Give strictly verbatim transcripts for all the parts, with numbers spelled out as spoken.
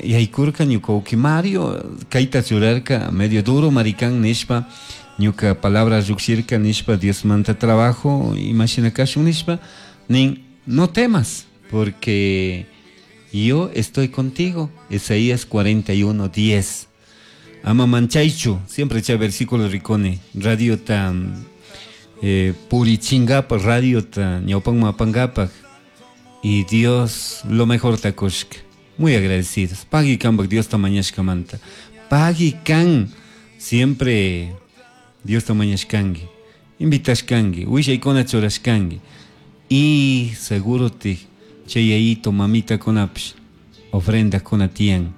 Yaykurka ñuka uki Mario kayta churarka medio duro maricán nishpa ñuka palabra llukshirka nishpa Diosmanta trabajo imashina kashun nishpa nin no temas porque yo estoy contigo. Isaías cuarenta y uno diez. Ama manchaychu, siempre chay versículo rikuni radiota eh, purichingapaj radiota ñawpanman apangapaj y Dios lo mejor takushka. Muy agradecidos. Pagui kanpak Diosta mañashkamanta. Pagui kan siempre Diosta mañashkanki, invitashkanki, willaykuna churashkanki. Y seguro te chay yayito mamitakunapish ofrendakuna tiyan.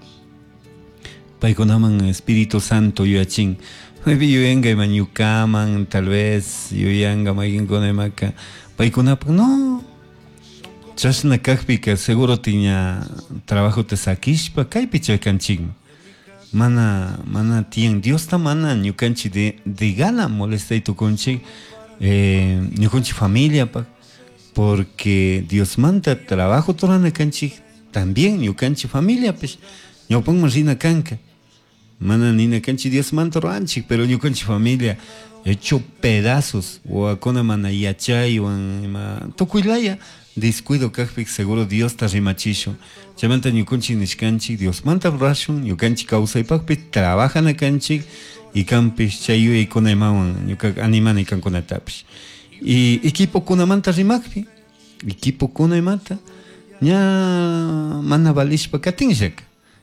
Paykunaman Espíritu Santo yuyachin. Maypi yuyanka ima ñukaman, tal vez yuyanka mayqinkuna imaka. Paykunapak no. Chashna kajpika seguro tiña trabajo te sakishpa kaypi chaykanchikman. Mana, mana tiyan Diosta mana ñukanchik de, de gana molestay tukunchik, eh, ñukanchik familiapak, porque Diosmanta trabajo turana kanchik también ñukanchik familiapish ñawpanman rina kanka. Mana nina kanchik Diosmanta ruranchik, pero ñukanchik familia hecho pedazos, wawakuna mana yachaywan ima tukuylaya descuido kajpik seguro Diosta rimachishun. Chaymanta ñukanchik nishkanchik Diosmanta rurashun, ñukanchik kawsaypakpi trabajana kanchik y kanpish chay yuyaykuna imawan ñuka animani kankunatapish. Y equipokunamanta rimakpi, equipokuna imata ña mana valishpa katinllaka.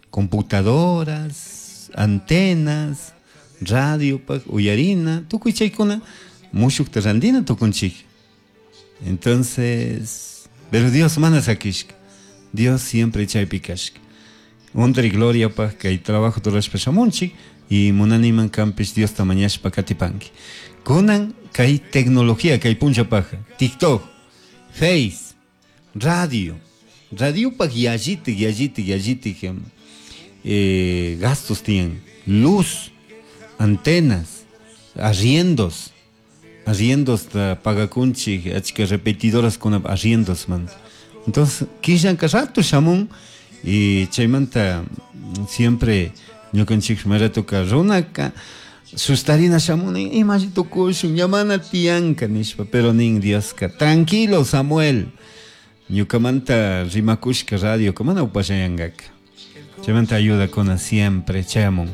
Computadoras, antenas, radiopak, uyarina, tukuy chaykuna mushukta randina tukunchik. Entonces, pero Dios mana sakishka. Dios siempre chaypi kashka. Honra y gloria pa kay trabajo rurashpa shamunchik y munaniman kanpish Diosta mañashpa katipanki. Kunan kay tecnología kay punchapaj, TikTok, Face, radio, radiopaj yallitik, yallitik, yallitik, eh, gastos tienen, luz, antenas, arriendos, arriendos ta pagakunchik, achka repetidoras kuna arriendos man. Entonces, killanka rato shamun y chaymanta siempre ñukanchik maratoka runaka sustarina shamun imashi tukushun ñamana tiyanka nishpa, pero nin Dioska tranquilo Samuel, ñukamanta rimakushka radio mana upashayankaka. Chaymanta ayuda kuna siempre chayamun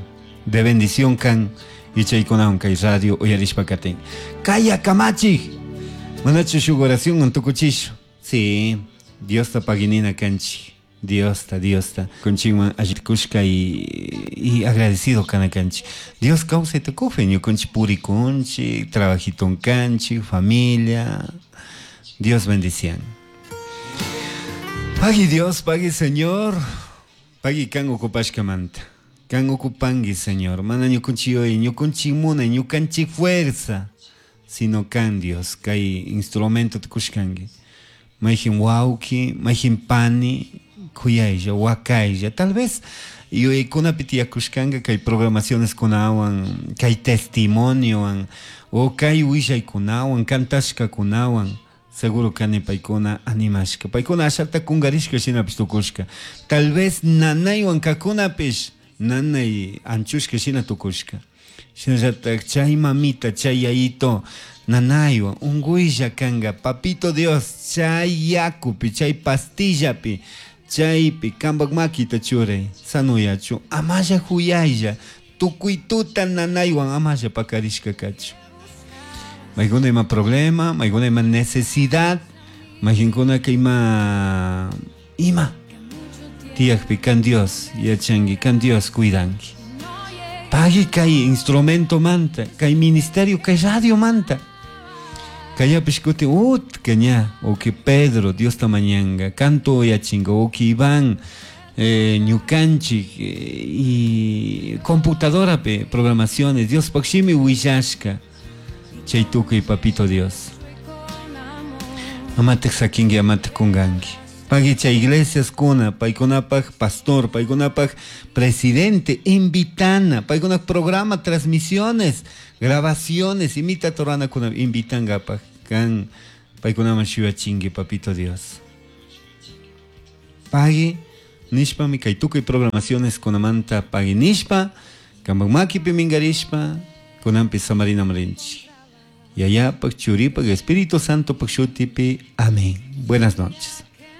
de bendición kan y chaykunawan kay radio uyarishpa katin. Kaya kamachik manachu shuk oración antukuchishu. Sí, Diosta paginina kanchik. Diosta, Diosta. Kunchikman allikushka y, y agradecido kana kanchik. Dios kawsay tukufe, ñukunchik purikunchik, trabajiton kanchik, familia. Dios bendición. Pagui Dios, pagui Señor. Pagui kan okupashkamanta. Kan okupangi, Señor. Mana ñukunchik hoy, ñukunchik muna, ñukanchik fuerza. Sino kan Dios, kay instrumento tukushkangi. Mayjin wawki, mayjin pani, kuyaylla, wakaylla. Tal vez yuyaykunapi tiyakushkanka kay programaciones kunawan, kay testimoniowan, o kay willaykunawan, kantashkakunawan. Seguro kani paykuna animashka. Paykuna ashata kungarishka shinapish tukushka. Tal vez nanaywan kakunapish nanay anchushka shina tukushka. Shinallatak chay mamita, chay yayito, nanaywan, unkuylla kanka, papito Dios, chay yakupi, chay pastillapi, chaypi, kampak makita churay, sanuyachu, amalla huyaylla, tukuy tuta nanaywan amalla pakarishka kachu. Maykuna ima problema, maykuna ima necesidad, maykinkuna ima, ima. Tiyakpi kan Dios yachanki, kan Dios cuidanki. Pagui kay instrumento manta, kay ministerio, kay radio manta. Kayapish kutin utka ña, o que Pedro, Dios tamañanga, canto yachinga, o que Iván, eh, ñukanchik, eh, y computadora pe, programaciones, Dios pakshimi willashka. Chay tukuy papito Dios. Amate sakingi, amate kunganki. Pagui chay iglesias kuna, paykunapaj pastor, paykunapaj presidente, invitana, paykunapaj programa, transmisiones, grabaciones, imita torana kuna, invitangapaj, kan paykunaman shuyachingi, papito Dios. Pagui Nishpami kay tukuy programaciones kunamanta pagui nishpa, kanpak makipi mingarishpa, kunanpi samarinaman rinchik. Yayapak, Churipak, Espíritu Santo shutipi. Amén. Buenas noches.